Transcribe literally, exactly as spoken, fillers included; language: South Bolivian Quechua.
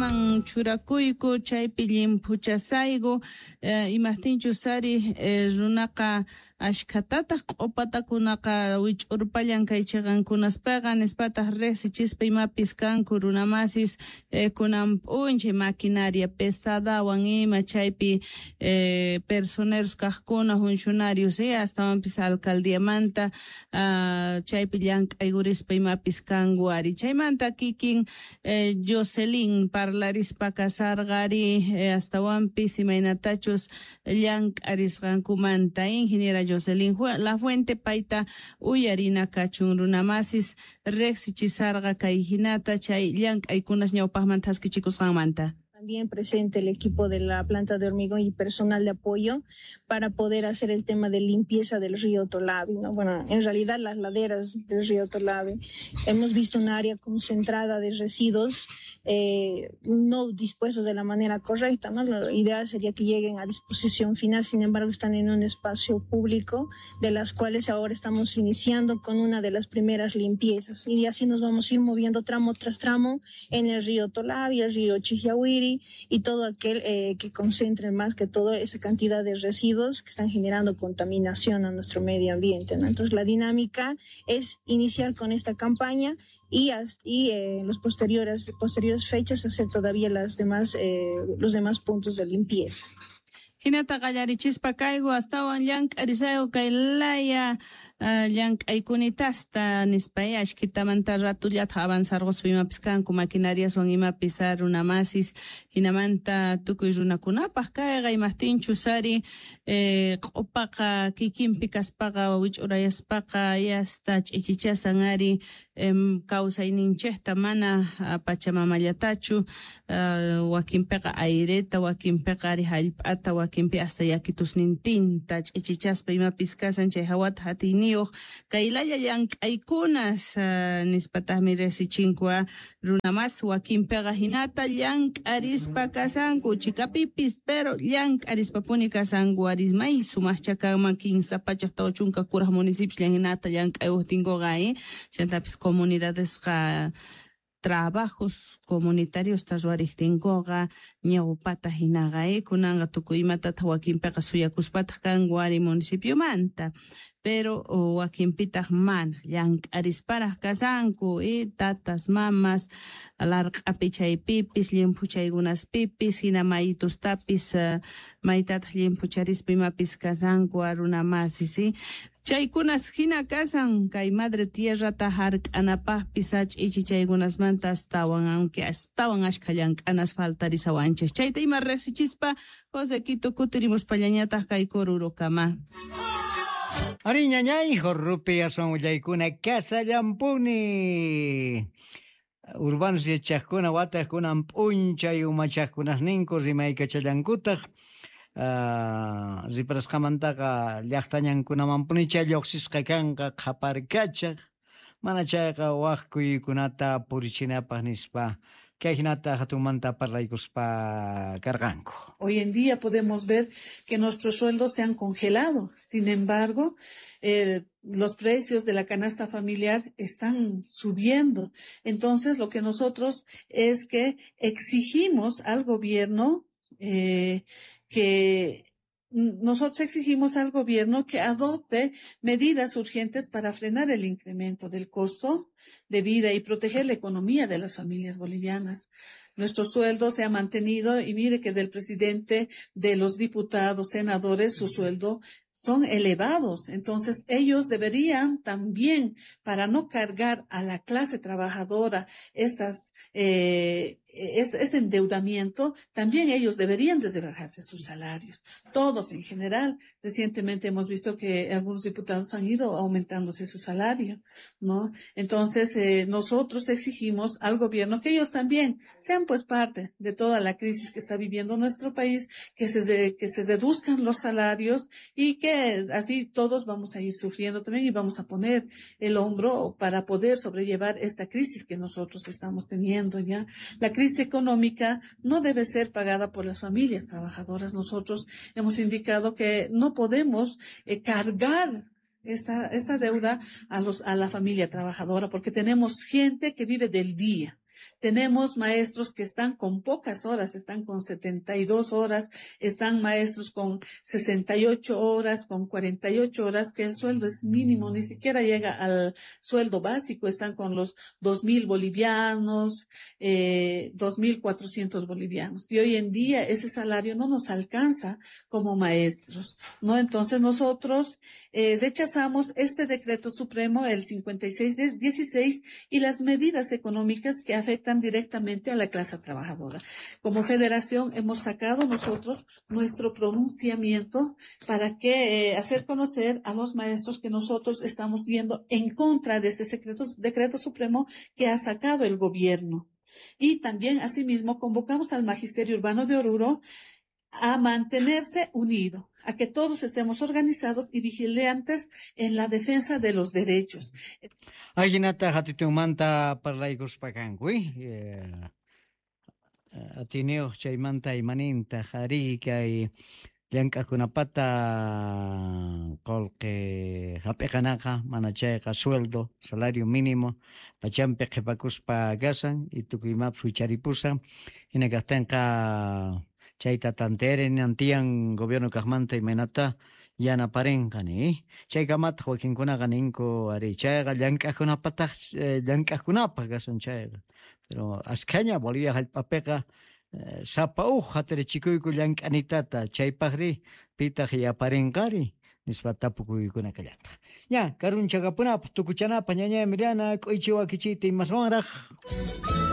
llank'anaman churakuyku chaypi llimphuchasayku eh, imajtinchus ari eh, runaqa ashkhatataq q'upatakunaqa wich'urpallan kay chiqankunaspaqa nispataq riqsichispa imapis kanku runamasis eh, kunan p'unchay maquinaria pesadawan ima chaypi eh, personeros kaqkuna funcionarios eh, astawanpis alcaldiamanta uh, chaypi llank'aykurispa imapis kanku ari chaymanta kikin eh, Jocelyn parlarispa kasarqa ari eh, astawanpis imaynatachus llank'arisqankumanta ingeniera Jocelyn Lafuente payta uyarina kachun runamasis riqsichisarqa kay hinata chay llank'aykunas ñawpaqman thaskichikusqanmanta. También presente el equipo de la planta de hormigón y personal de apoyo para poder hacer el tema de limpieza del río Tolavi, ¿no? Bueno, en realidad las laderas del río Tolavi. Hemos visto un área concentrada de residuos eh, no dispuestos de la manera correcta, ¿no? Lo ideal sería que lleguen a disposición final, sin embargo están en un espacio público de las cuales ahora estamos iniciando con una de las primeras limpiezas y así nos vamos a ir moviendo tramo tras tramo en el río Tolavi, el río Chijiahuiri, y todo aquel eh, que concentre más que todo esa cantidad de residuos que están generando contaminación a nuestro medio ambiente, ¿no? Entonces la dinámica es iniciar con esta campaña y, hasta, y eh, en los posteriores, posteriores fechas hacer todavía las demás, eh, los demás puntos de limpieza. Hinata qallarichispa kayku astawan llank'arisayku kay laya uh, llank'aykunitasta nispa ashkitamanta ratullata avanzarquspa imapis kanku maquinariaswan imapis runamasis hinamanta tukuy runakunapaq kayqa imajtinchus ari eh, q'upaqa kikinpi kaspaqa wich'urayaspaqa yasta ch'ichichasan ari em, kawsayninchikta mana pachamamallatachu uh, wakinpiqa aireta wakinpiqa ari hallp'ata wakinpi hasta yakitusnintinta ch'ichichaspa imapis kasan chay hawata hatiyniyuq kay laya llank'aykunas uh, nispataqmi riqsichinku runamas wakinpiqa hinata llank'arispa kasanku chikapipis pero llank'arispapuni kasanku aris may sumaqcha kanman kinsa pachak tawa chunka kuraq municipios hinata llank'ayuqtinkuqa eh chantapis comunidadesqa trabajos comunitarios ruwariqtinkuqa ñawpata hinaqa eh kunanqa tukuy imatataq wakinpiqa suyakuspataq kanku ari municipiomanta pero wakinpitaq mana llank'arisparaq kasanku eh tatas mamas larq'api chaypipis llimphuchaykunaspipis hina maytustapis uh, maytataq llimphucharispa imapis kasanku runamasis eh chaykunas hina kasan kay madre tierrata hark'anapaqpis ch'ichichaykunasmanta astawan aunque astawan ashkha llank'anas faltarisawanchik chayta ima riqsichispa José Quito kutirimuspallañataq kay Corurokama. Ari ñañay, jorrupi aswan willaykuna kasallampuni. Urbanos yachaqkuna wataqkunan p'unchay umachaqkunasninku rimaykachallankutaq Uh, riparasqamantaqa llaqtañankunamanpunicha lluqsisqa kanqa qhaparkachaq mana chayqa waq kuyuykunata purichinapaq nispa kay hinata hatunmanta parlaykuspa karqanku. Hoy en día podemos ver que nuestros sueldos se han congelado. Sin embargo, eh, los precios de la canasta familiar están subiendo. Entonces, lo que nosotros es que exigimos al gobierno eh, que nosotros exigimos al gobierno que adopte medidas urgentes para frenar el incremento del costo de vida y proteger la economía de las familias bolivianas. Nuestro sueldo se ha mantenido y mire que del presidente, de los diputados, senadores, su sueldo son elevados. Entonces, ellos deberían también, para no cargar a la clase trabajadora estas, eh, este endeudamiento, también ellos deberían de rebajarse sus salarios. Todos en general. Recientemente hemos visto que algunos diputados han ido aumentándose su salario, ¿no? Entonces, eh, nosotros exigimos al gobierno que ellos también sean pues parte de toda la crisis que está viviendo nuestro país, que se, que se reduzcan los salarios y que así todos vamos a ir sufriendo también y vamos a poner el hombro para poder sobrellevar esta crisis que nosotros estamos teniendo ya. La crisis económica no debe ser pagada por las familias trabajadoras. Nosotros hemos indicado que no podemos eh, cargar esta, esta deuda a los, a la familia trabajadora, porque tenemos gente que vive del día. Tenemos maestros que están con pocas horas, están con setenta y dos horas, están maestros con sesenta y ocho horas, con cuarenta y ocho horas, que el sueldo es mínimo, ni siquiera llega al sueldo básico, están con los dos mil bolivianos, eh, dos mil cuatrocientos bolivianos. Y hoy en día ese salario no nos alcanza como maestros, ¿no? Entonces nosotros eh, rechazamos este decreto supremo, el cincuenta y seis de dieciséis, y las medidas económicas que afectan directamente a la clase trabajadora. Como federación hemos sacado nosotros nuestro pronunciamiento para que eh, hacer conocer a los maestros que nosotros estamos yendo en contra de este secreto, decreto supremo que ha sacado el gobierno. Y también, asimismo, convocamos al Magisterio Urbano de Oruro a mantenerse unido, a que todos estemos organizados y vigilantes en la defensa de los derechos. Ajinata hatitunmanta parlaykuspa kanku, eh, atiniyuq chaymanta imaninta ari kay llank'aqkunapata qullqi hap'iqanaqa mana chayqa sueldo, salario mínimo pachampi qhipakuspa kasan y tukuy imapas wicharipusan hina kaqtinqa chayta tantearen tiyan gobierno kaqmanta imaynata yanaparinqa ni chaykamataq wakinkunaqa ninku ari chayqa llank'aqkunapataq llank'aqkunapaq kasan chayqa pero askhaña Bolivia hallp'apiqa sapa uj hatarichikuyku llank'anitata chaypaqri pitaq yaparinqari nispa tapukuykuna kallataq. Ña karunchakapunapaq tukuchanapaq ñañay Emiliana k'uychi wakichiyta imaswanraq.